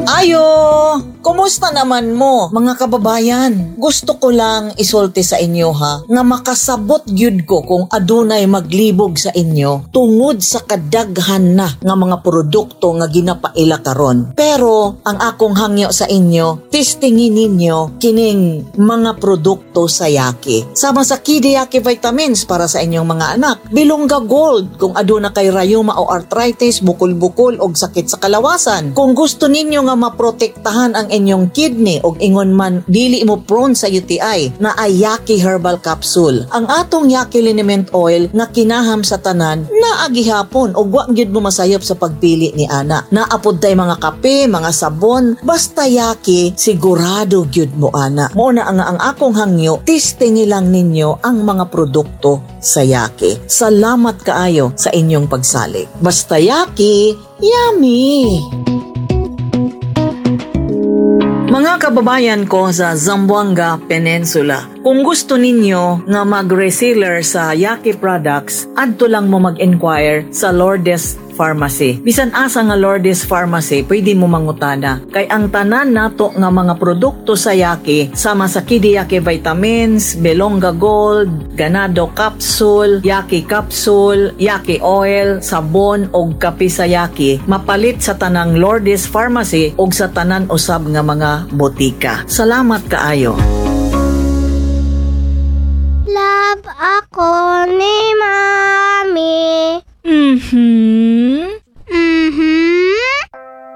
Ayo! Kumusta naman mo, mga kababayan? Gusto ko lang isulti sa inyo ha, nga makasabot gyud ko kung adunay maglibog sa inyo tungod sa kadaghan na nga mga produkto nga ginapaila karon. Pero ang akong hangyo sa inyo, testingin ninyo kining mga produkto sa Yaki. Sama sa Kidiyaki vitamins para sa inyong mga anak, Bilongga Gold kung aduna kay rayuma o arthritis, bukol-bukol og sakit sa kalawasan. Kung gusto ninyo nga maprotektahan ang inyong kidney og ingon man dili mo prone sa UTI, na ay Yaki Herbal Capsule. Ang atong Yaki Liniment Oil nga kinaham sa tanan naa gihapon og wa gyud mo masayop sa pagpili ni ana. Naa pod tay mga kape, mga sabon, basta Yaki, sigurado gyud mo ana. Mo na ang akong hangyo, testingi lang ninyo ang mga produkto sa Yaki. Salamat kaayo sa inyong pagsalig. Basta Yaki, yummy! Mga kababayan ko sa Zamboanga Peninsula, kung gusto ninyo nga mag-reseller sa Yaki products, adto lang mo mag-inquire sa Lourdes Pharmacy. Bisan asa nga Lourdes Pharmacy, pwede mo mangutana. Kay ang tanan nato nga mga produkto sa Yaki, sama sa Kidiyaki Vitamins, Belonga Gold, Ganado Capsule, Yaki Capsule, Yaki Oil, sabon og kape sa Yaki, mapalit sa tanang Lourdes Pharmacy og sa tanan usab nga mga botika. Salamat kaayo. Love ako ni Mami.